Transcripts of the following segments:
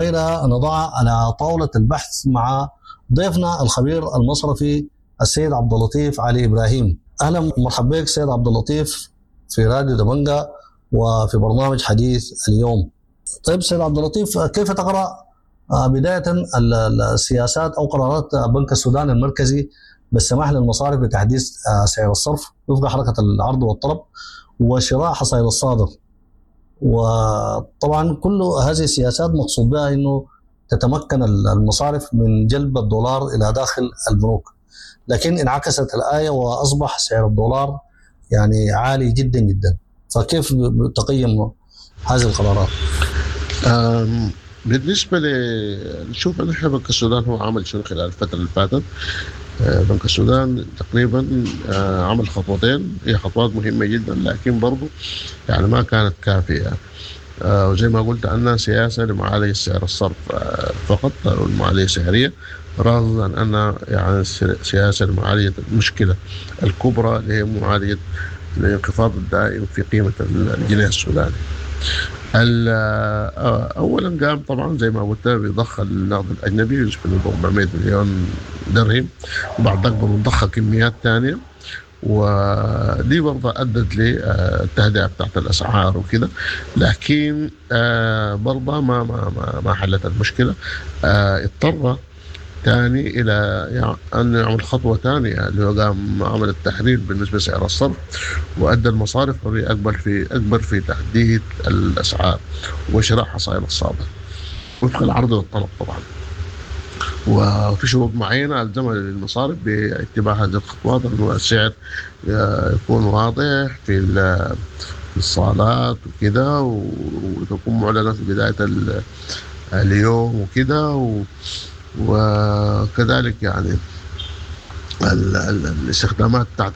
وغيرها نضعها على طاولة البحث مع ضيفنا الخبير المصرفي السيد عبد اللطيف علي إبراهيم. أهلا ومرحبا بك سيد عبد اللطيف في راديو دبنجا وفي برنامج حديث اليوم. طيب سيد عبد اللطيف، كيف تقرأ بداية السياسات أو قرارات بنك السودان المركزي بالسماح للمصارف بتحديث سعر الصرف وفق حركة العرض والطلب وشراء حصائل الصادر؟ وطبعا كل هذه السياسات مقصود بها انه تتمكن المصارف من جلب الدولار الى داخل البنوك، لكن انعكست الآية واصبح سعر الدولار يعني عالي جدا جدا. فكيف تقيم هذه القرارات؟ بالنسبة نشوف نحن بنك السودان هو عمل شنو خلال الفترة اللي فاتت. بنك السودان تقريبا عمل خطوتين، هي خطوات مهمة جدا لكن برضو يعني ما كانت كافية. وزي ما قلت أنها سياسة لمعالجة سعر الصرف فقط أو المعالجة السعرية، رغم أن يعني سياسة لمعالجة المشكلة الكبرى اللي هي معالجة الانخفاض الدائم في قيمة الجنيه السوداني. أولا قام طبعا زي ما قلت بضخ النقد الأجنبي يشبه 400 مليون درهم، وبعد ذلك ضخ كميات ثانية، ودي برضه أدت للتهدئة بتاعت الأسعار وكده، لكن برضه ما ما ما ما حلت المشكلة. اضطر ثاني إلى أن يعمل خطوة ثانية اللي هو قام عمل التحرير بالنسبة لسعر الصرف، وأدى المصارف حرية أكبر في تحديد الأسعار وشراء حصائل الصادر وفق العرض والطلب طبعا. وفي شروط معينة ألزمها للمصارف باتباع هذه الخطوات، أنه السعر يكون واضح في الصالات وكده، وتكون معلنة في بداية اليوم وكده، وكذلك يعني الاستخدامات بتاعت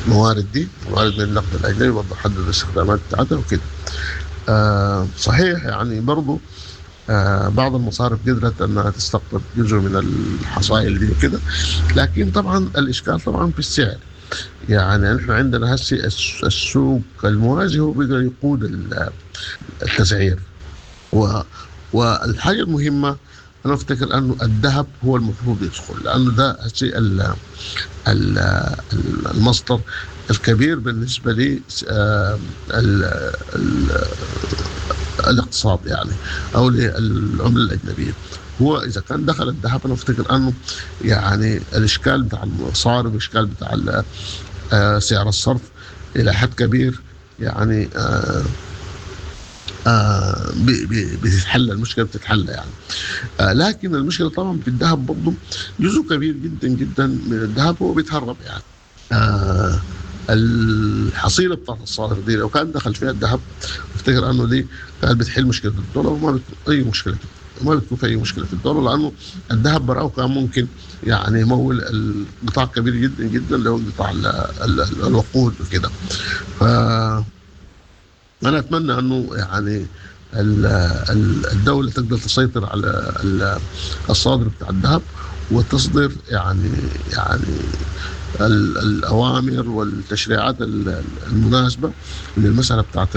الموارد دي، موارد من النقد الاجنبي برضه حدد الاستخدامات بتاعتها وكده. صحيح يعني برضه بعض المصارف قدرت انها تستقطب جزء من الحصائل دي وكده، لكن طبعا الاشكال طبعا في السعر. يعني نحن عندنا هسه السوق الموازي هو بيقدر يقود التسعير. والحاجة المهمة أنا أفتكر أنه الذهب هو المفروض يدخل، لأنه ده الشيء المصدر الكبير بالنسبة لي الاقتصاد يعني أو للعملة الأجنبية. هو إذا كان دخل الذهب أنا أفتكر أنه يعني الإشكال بتاع المصارف والإشكال بتاع سعر الصرف إلى حد كبير يعني بتتحل المشكلة، بتتحل يعني. لكن المشكلة طبعا في الذهب برضه جزء كبير جدا جدا من الذهب هو بيتهرب يعني. الحصيلة بتاعت الصادر دي لو كان دخل فيها الذهب افتكر انه دي كانت بتحل مشكلة الدولار، وما بتكون اي مشكلة، ما بتكون في اي مشكلة في الدولار، لانه الذهب براه كان ممكن يعني يمول القطاع كبير جدا جدا اللي هو قطاع الوقود وكده. ف أنا أتمنى أنه يعني الدولة تقدر تسيطر على الصادر بتاع الذهب وتصدر يعني الأوامر والتشريعات المناسبة للمسألة بتاعت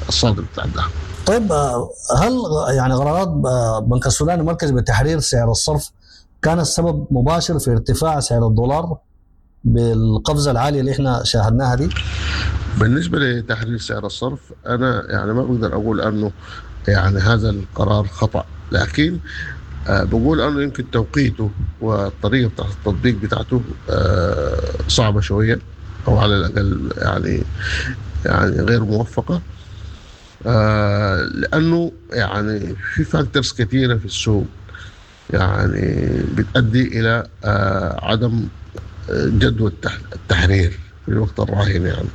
الصادر بتاع الذهب. طيب هل يعني قرارات بنك السودان المركزي بتحرير سعر الصرف كان السبب مباشر في ارتفاع سعر الدولار بالقفزة العالية اللي احنا شاهدناها دي؟ بالنسبة لتحرير سعر الصرف أنا يعني ما بقدر أقول أنه يعني هذا القرار خطأ، لكن بقول أنه يمكن توقيته والطريقة بتاعت التطبيق بتاعته صعبة شوية، أو على الأقل يعني غير موفقة، لأنه يعني في فاكتورز كثيرة في السوق يعني بتؤدي إلى عدم جدوى التحرير في الوقت الراهن يعني.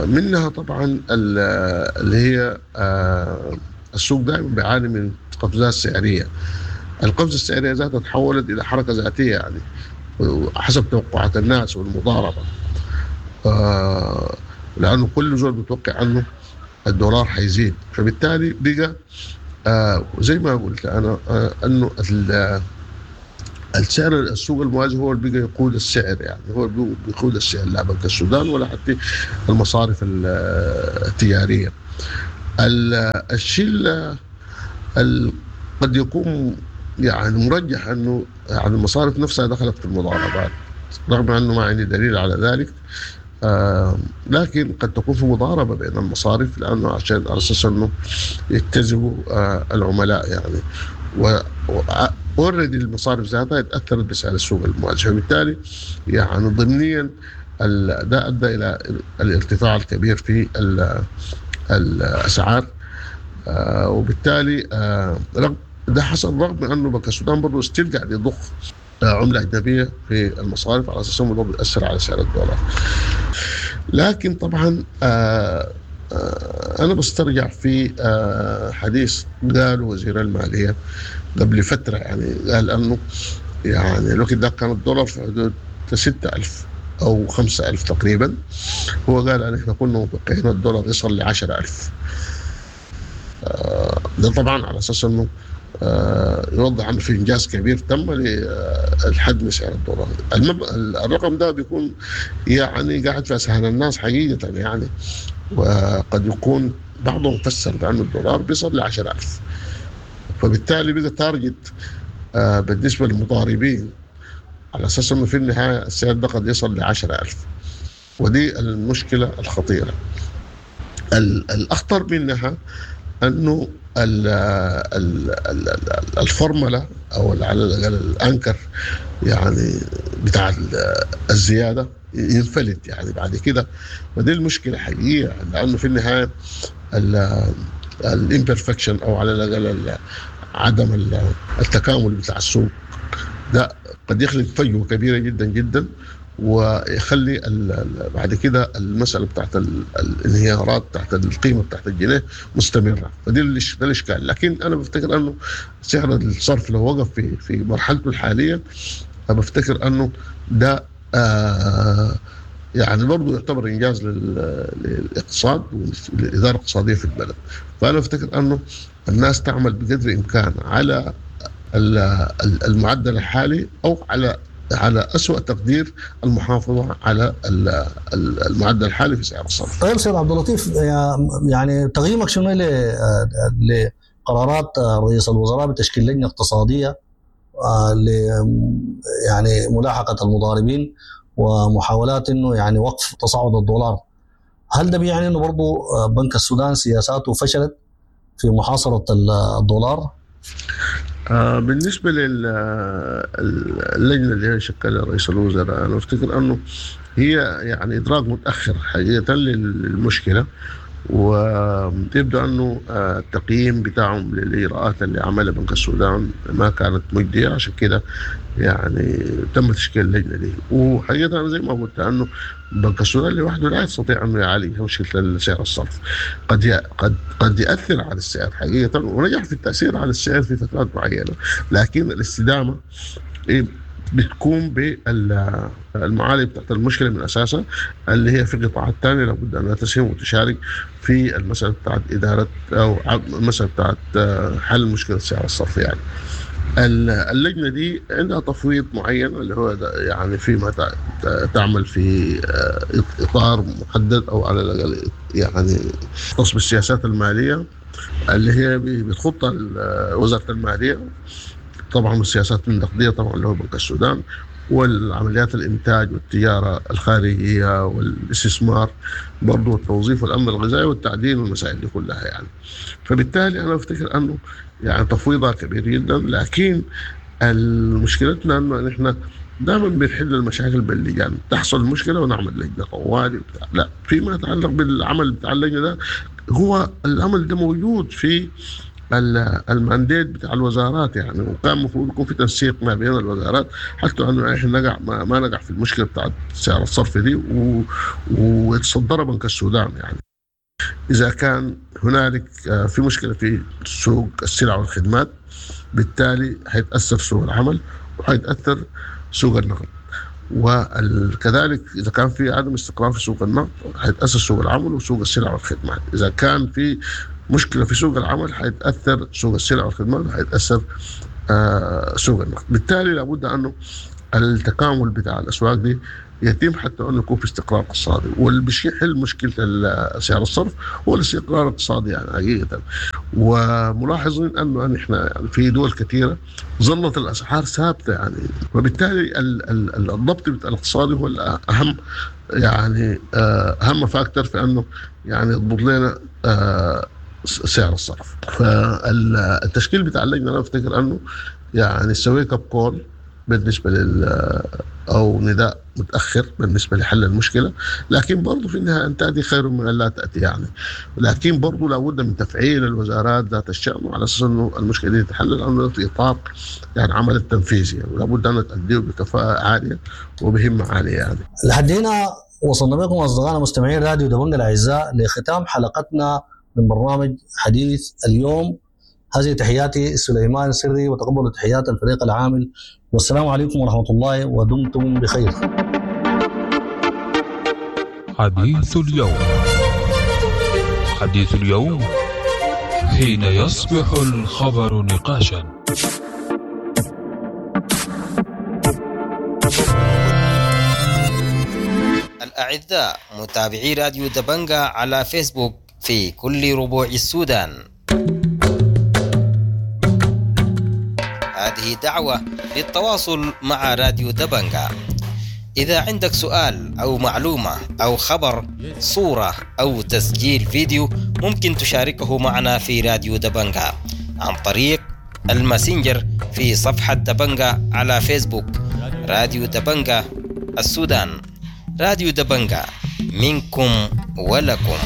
منها طبعا اللي هي السوق دائما بيعاني من قفزات سعريه. القفزة السعرية ذاتها تحولت الى حركة ذاتية يعني حسب توقعات الناس والمضاربه، لانه كل زول بيتوقع انه الدولار حيزيد، فبالتالي بقى زي ما قلت انا انه السعر السوق الموازي هو اللي بقى يقود السعر، يعني هو اللي بيقود السعر لا بنك السودان ولا حتى المصارف التجارية. الشيء قد يكون يعني مرجح انه يعني المصارف نفسها دخلت في المضاربات، رغم انه ما عندي دليل على ذلك، لكن قد تكون في مضاربة بين المصارف، لانه عشان على اساس انه يجتذبوا العملاء يعني. و already المصارف ذاتها اتاثرت بسعر السوق الموازي، فبالتالي يعني ضمنيا ده ادى الى الارتفاع الكبير في الاسعار، وبالتالي رغم ده حصل، رغم انه بنك السودان برضه still قاعد يضخ عمله اجنبية في المصارف على اساس انه بيأثر على سعر الدولار. لكن طبعا انا بسترجع في حديث قاله وزير المالية قبل فترة، يعني قال انه يعني الوقت ده كان الدولار في حدود 6000 او 5000 تقريبا، هو قال ان احنا كنا متوقعين الدولار يصل ل 10000. ده طبعا على اساس انه يوضح انه في انجاز كبير تم للحد من سعر الدولار. الرقم ده بيكون يعني قاعد في اذهان الناس حقيقة يعني، وقد يكون بعضهم فسر بأن الدولار بيصل ل 10000، فبالتالي بقى target بالنسبة للمضاربين على اساس انه في النهاية السعر ده قد يصل ل 10000، ودي المشكلة الخطيرة. الاخطر منها انه الفورمولا او على الاقل ال anchor يعني بتاع الزيادة ينفلت يعني بعد كده، ودي المشكلة حقيقية، لانه في النهاية ال imperfection او على الاقل عدم التكامل بتاع السوق ده قد يخلق فجوة كبيرة جدا جدا، ويخلي بعد كده المسالة بتاعت الانهيارات بتاعت القيمة بتاعت الجنيه مستمرة، فدي ده الاشكال. لكن انا بفتكر انه سعر الصرف لو وقف في مرحلته الحالية، انا بفتكر انه ده يعني برضه يعتبر انجاز للاقتصاد وللاداره الاقتصادية في البلد. فانا بفتكر انه الناس تعمل بقدر الامكان على المعدل الحالي، او على أسوأ تقدير المحافظة على المعدل الحالي في سعر الصرف. طيب سيد عبد اللطيف، يعني تقييمك شنو لقرارات رئيس الوزراء بتشكيل لجنة اقتصادية ل يعني ملاحقة المضاربين ومحاولات انه يعني وقف تصاعد الدولار؟ هل ده بيعني انه برضه بنك السودان سياساته فشلت في محاصرة الدولار؟ بالنسبة للجنة اللي هي شكلها رئيس الوزراء، أنا أفتكر أنه هي يعني إدراك متأخر حقيقة للمشكلة، ويبدو أنه التقييم بتاعهم للإجراءات اللي عملها بنك السودان ما كانت مجدية، عشان كده يعني تم تشكيل اللجنة دي. وحقيقة أنا زي ما قلت أنه بنك السودان لوحده لا يستطيع أنه يعالج مشكلة سعر الصرف، قد يأثر على السعر حقيقة، ونجح في التأثير على السعر في فترات معينة، لكن الاستدامة بتكون بالمعالجة بتاعت المشكلة من أساسها، اللي هي في قطاعات ثانية لابد أنها تسهم وتشارك في المسألة بتاعت إدارة أو المسألة بتاعت حل مشكلة سعر الصرف. يعني اللجنة دي عندها تفويض معين اللي هو يعني فيما تعمل في إطار محدد، أو على الأقل يعني يختص بالسياسات المالية اللي هي بتخطها وزارة المالية، طبعا السياسات النقدية طبعا اللي هو بنك السودان، والعمليات الإنتاج والتجارة الخارجية والاستثمار برضو، والتوظيف والأمن الغذائي والتعدين والمسائل دي كلها يعني. فبالتالي أنا أفتكر أنه يعني تفويضها كبير جدا، لكن مشكلتنا أنه نحن دائما بنحل المشاكل باللجان، تحصل مشكلة ونعمل لجنة طوالي بتاع. لا، فيما يتعلق بالعمل بتاع اللجنة ده، هو العمل ده موجود في المانديت بتاع الوزارات يعني، وكان المفروض يكون في تنسيق ما بين الوزارات حتى انه احنا نقع ما نقع في المشكلة بتاعت سعر الصرف دي ويتصدر بنك السودان يعني. اذا كان هنالك في مشكلة في سوق السلع والخدمات، بالتالي حيتاثر سوق العمل وحيتاثر سوق النقد، وكذلك اذا كان في عدم استقرار في سوق النقد حيتاثر سوق العمل وسوق السلع والخدمات. اذا كان في مشكلة في سوق العمل حيتاثر سوق السلع والخدمات وحيتاثر سوق النقد. بالتالي لابد انه التكامل بتاع الاسواق دي يتم حتى انه يكون في استقرار اقتصادي، واللي بيحل مشكلة سعر الصرف هو الاستقرار الاقتصادي يعني حقيقة. وملاحظين انه نحن يعني في دول كثيرة ظلت الاسعار ثابتة يعني، وبالتالي الضبط الاقتصادي هو الاهم يعني، اهم factor في انه يعني يضبط لنا سعر الصرف. فالتشكيل بتاع اللجنة انا افتكر انه يعني wake up call بالنسبة لل او نداء متاخر بالنسبة لحل المشكلة، لكن برضه في النهاية ان تاتي خير من ان لا تاتي يعني، لكن برضه لابد من تفعيل الوزارات ذات الشان على اساس انه المشكلة دي تتحل، لانه في اطار يعني عمل التنفيذي يعني، ولابد ان تؤديه بكفاءة عالية وبهمه عالية يعني. لحد هنا وصلنا بكم اصدقائنا مستمعين راديو دبنجا الاعزاء لختام حلقتنا من برنامج حديث اليوم. هذه تحياتي سليمان سري، وتقبلوا تحيات الفريق العامل، والسلام عليكم ورحمة الله، ودمتم بخير. حديث اليوم، حديث اليوم حين يصبح الخبر نقاشا. الأعزاء متابعي راديو دبنجا على فيسبوك في كل ربوع السودان، هذه دعوة للتواصل مع راديو دبنجا. إذا عندك سؤال أو معلومة أو خبر، صورة أو تسجيل فيديو، ممكن تشاركه معنا في راديو دبنجا عن طريق الماسنجر في صفحة دبنجا على فيسبوك، راديو دبنجا السودان. راديو دبنجا منكم ولكم.